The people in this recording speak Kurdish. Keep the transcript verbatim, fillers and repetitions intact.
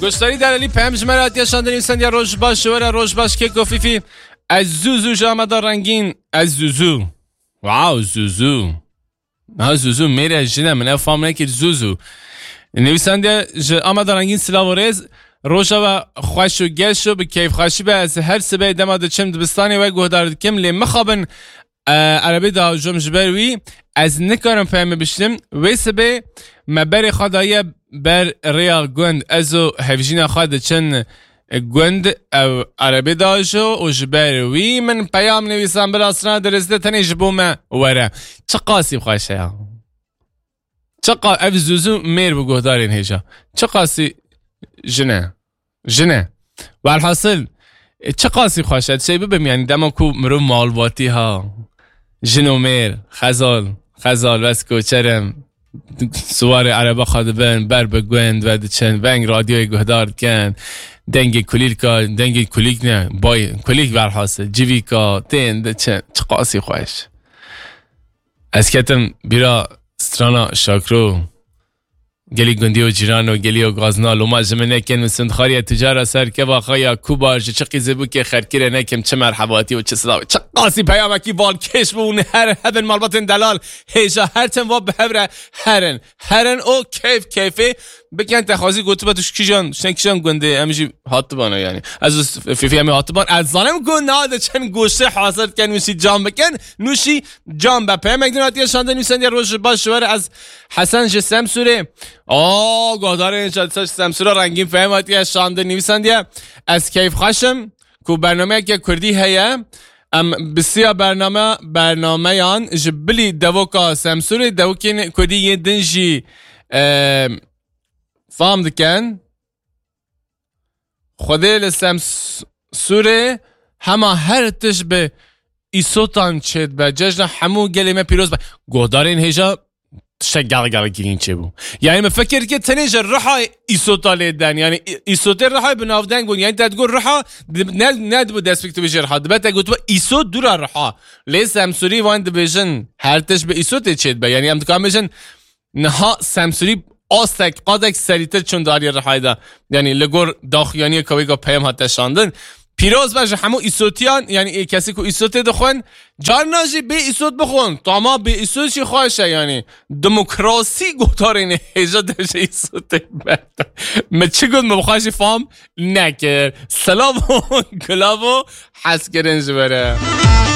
Goşdarî derelî peyam ji me re hatiye şandin, nivîsandiye: "Roj baş ji we re, roj baş keko Fîfî. Ez zû zû ji Ameda Rengîn. Ez zû zû." Wow, zû zû. Ha, zû zû, mêr e, jin e, min ev fam nekir, zû zû. Nivîsandiye: "Ji Ameda Rengîn silav û rêz. Roja we xweş û geş û bi keyfxweşî be. Ez her sibê dema diçim dibistanê we guhdar dikim, lê mixabin, e, erebê diajom, ji ber wî ez nikarim peyamê biştim. Wê sibê me berê xwe daye ber rêya gund. Ez û hevjîna xwe diçin gund, ew erebê diajo û ji ber wî min peyam nivîsan, bila strana dirêz de tenê ji bo me were." Çi qasî xweş e ya. Çi qa-, ev zû zû mêr bi guhdarên hêja. Çi qasî jin e. Jin e. Welhasil, e, çi qasî xweş e. Şey bibim, yani, dema ku mirov malbatî ha. Jin û mêr, xezal, xezal, bes koçer im. Siwarê erebe xwe dibin, ber bi gund ve diçin, veng radyoyê guhdar dikin. Dengê kulîlka, dengê kulîk ne, bay, kulîk, welhasil, civîka, tên diçin. Çi qasî xweş. Ez ketim bîra strana Şakro. Gelî gundî û cîran û gelî û gazna, loma ji min nekin, min sindxariye tu cara ser keva xwe ya kubar, ji çi qîzê bûkê xerkirê nekim, çi merhebatî û çi silavê. Çi qasî peyamekî balkêş bû, hûn her hebin malbatên delal, hêja her tim va bi hev re herin. Herin û keyf keyfê bikin, te xwazî gotibe tu ji kîjan, tu ne kîjan gundê, em jî hatibana yani. Ez û Fîfî em ê hatiban, ez zanim ku na de çend goştê hazir dikin, nûşî cam bikin, nûşî cam be. Peyamek din hatiye şandin, nivîsandiye: "Roj baş ji we re, ez Hesen ji Semsûrê." Aa, guhdarên ji Semsûra rengîn peyam hatiye şandin, nivîsandiye: "Ez keyfxweş im ku bernameyeke kurdî heye. Em bi siya bername, bernameyan ji bilî devoka Semsûrê, devokên kurdî yên din jî, e, fam dikin. Xwedê li Semsûrê hema her tişt bi îsotan çêdibe. Cejna hemû gelê me pîroz be." Guhdarên hêja, tiştek gel gel girîn çêbû. Yani, min fikir kir tenê ji Riha îsota lê den. Yani, î-, îsotê Riha bi navdeng bûn. Yani, te digot Riha, di-, ne, ne dibû destpêk tu bêjî Riha. Dibe te gotibe îsot dûra Riha. Lê Semsûrî wan dibêjin her tişt bi îsotê çêdibe. Yani, em dikarin bêjin niha Semsûrî astek, qadek serîtir çûn darî Rihayê de. Yani, li gor daxuyaniyê kawêka peyam hate şandin. Pîroz be ji hemû îsotiyan, yani, ê kesî ku îsotê dixwin, carna jî bê îsot bixwin. Tama bê îsot jî xweş e, yani. Demokrasî gotarên hêja de ji îsotê berda. Me çi got, me bi xwe jî fam nekir. Silav û gulav û hezkirin ji we re.